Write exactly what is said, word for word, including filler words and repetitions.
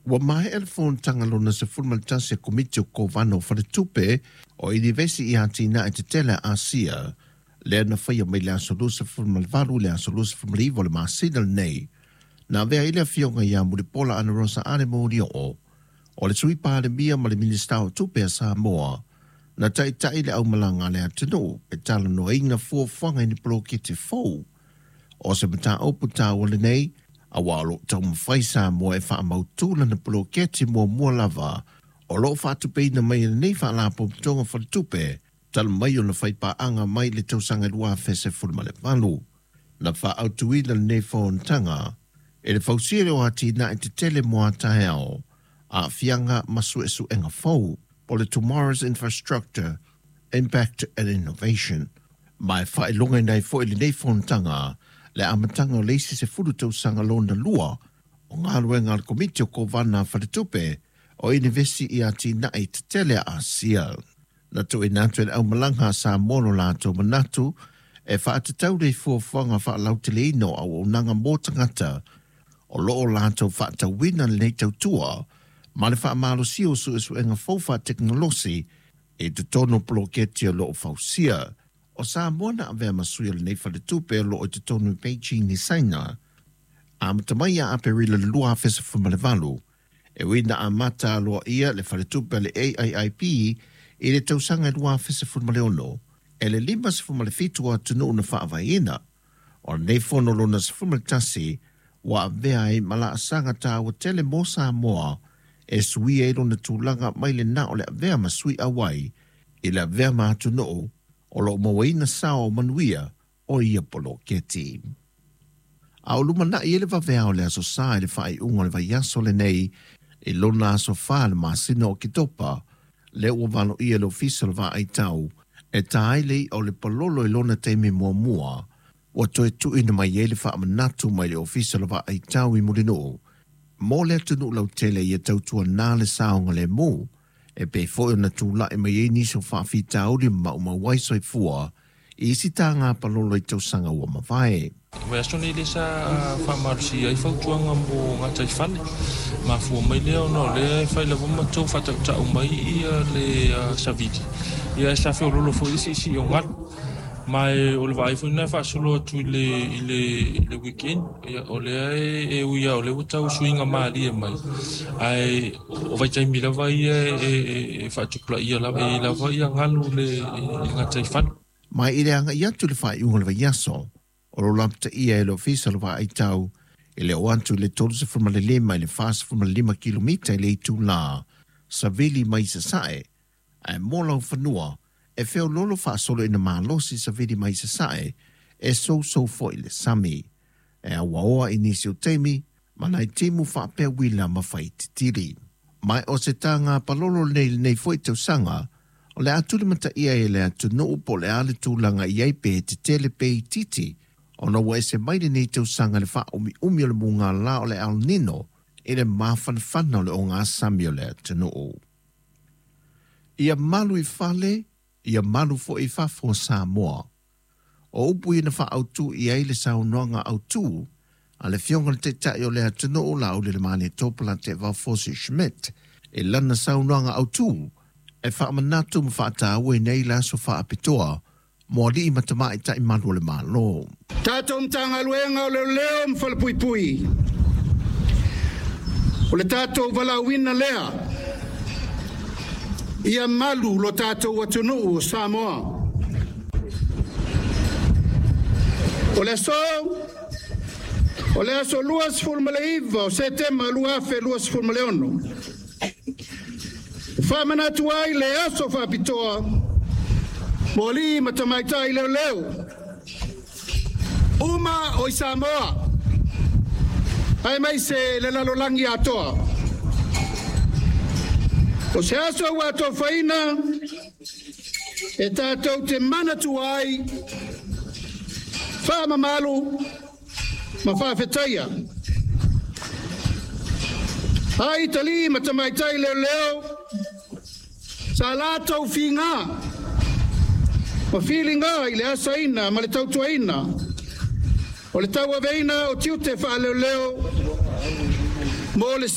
Ua maea le fonotaga lona sefulu ma le tasi a Komiti o Kovana o Faletupe o Inivesi i Atinae Tetele a Asia, lea na faia mai le aso luasefulu ma le valu i le aso luasefulu ma le iva o le masina lenei. Na avea ai le afioga ia Mulipola Anarosa Ale Molioo, o le Sui Palemia ma le Minisita o Tupe a Samoa, na taita'i le aumalaga a le atunuu e talanoaina fuafuaga i ni poloketi fou. O se mataupu taua lenei, auā o loo taumafai Samoa e faamautū lana poloketi muamua lava o loo faatupeina mai e lenei faalapotopotoga faletupe talu mai ona faipaaga mai le tausaga lua afe sefulu ma le valu. Na faaautuina lenei fonotaga e le fausia o atinae tetele mo a taeao, aafiaga ma suesuega fou, po le Tomorrow's Infrastructure, Impact and Innovation. Ma e faailogaina ai foi lenei fonotaga le amataga o le isi sefulu tausaga lona lua o galuega a le Komiti o Kovana Faletupe o Inivesi i Atinae Tetele a Asia. Na tuuina atu e le aumalaga a Samoa lo latou manatu e faatatau le fuafuaga faalauteleina o auaunaga mo tagata o loo latou faatauina lenei tautua ma le faamalosia o suesuega fou faatekonolosi i totonu o poloketi o loo fausia. O Samoa na avea ma sui o lenei faletupe o loo i totonu i Beijing i Saina amata mai ia Aperila lua afe sefulu ma le valu, e ui na amata aloaia le faletupe a le A I I P i le tausaga lua afe sefulu ma le ono, e le lima sefulu ma le fitu o atunuu na faavaeina. O lenei fono lona sefulu ma le tasi ua avea ai ma laasaga taua tele mo Samoa e suia ai lona tulaga mai le na o le avea ma sui auai i le avea ma atunuu o loo mauaina sao o manuia o ia poloketi. A o lumanai e le vaveao le aso Sa i le faaiuga o le vaiaso lenei i lona aso fa le masina o Oketopa, lea ua valoia le ofisa o le vaaitau e tā ai le i'a o le palolo i lona taimi muamua, ua toe tuuina mai ai le faamanatu mai le ofisa o le vaaitau i Mulinuu mo le atunuu lautele ia tautuanā le saogalemu, e pei foi ona tula'i mai ai nisi o faafitauli ma maumau ai soifua i isi taga palolo i tausaga ua mavae. Vaiaso nei lea sa faamalosia ai fautuaga mo gataifale. Mafua mai lea ona o lea e fai lava ma tou faatautau mai ia le savili. Ia e sa feololo foi le siisii o galu. Ma e o le vaai foi lena e faasolo atu i le, i le, i le weekend. Ia, o lea e, e ui lava o lea ua tau suiga malie mai. Ae o vaitaimi lava ia e, e, e faatupulaia lava, e lava ia galu le, i le gataifale. Ma i le agai atu i le faaiuga o le vaiaso, o lo lapataia e le ofisa o le vaaitau e le oo atu i le tolu ma le lima i le fasefulu ma le lima kilomita i le itulā savili mai sasae, ae mo laufanua e feololo faasolo ina malosi savili mai sasae e sousou foi le sami. E auaoa i nisi o taimi ma nai timu faapea uila ma faititili. Ma o se taga palolo lenei lenei foi tausaga, o le a tulimataia e le atunuu po o le a le tulaga i ai pe tetele pe itiiti, ona ua ese mai lenei tausaga le faaumiumi o le mugala o le El Nino i le mafanafana o le ogasami o le atunuu. Ia malu i fale, ia malu foi i fafo o Samoa. O upu ia na faaautū i ai le saunoaga autū a le afioga i le Taitai o le atunuu Laaulialemalietoa Polataivao Fosi Schmidt i lana saunoaga autū e faamanatu ma faatauaina ai le aso faapitoa mo alii ma tamaitai malu o le Malo. Tatou Matagaluega o Leoleo ma Falepuipui, o le tatou valaauina lea ia malu lo tatou atunuu o Samoa. O le aso, o le aso luasefulu ma le iva o Setema lua afe luasefulu ma le ono. Faamanatu ai le aso faapitoa mo alii ma tamaitai leoleo uma o i Samoa, aemaise le lalolagi atoa. O se aso ua atofaina e tatou te manatu ai, faamamalu ma faafetaia. Ai talii ma tamaitai leoleo sa latou figa ma filiga i le asaina ma le tautuaina o le tauaveina o tiute faaleoleo mo le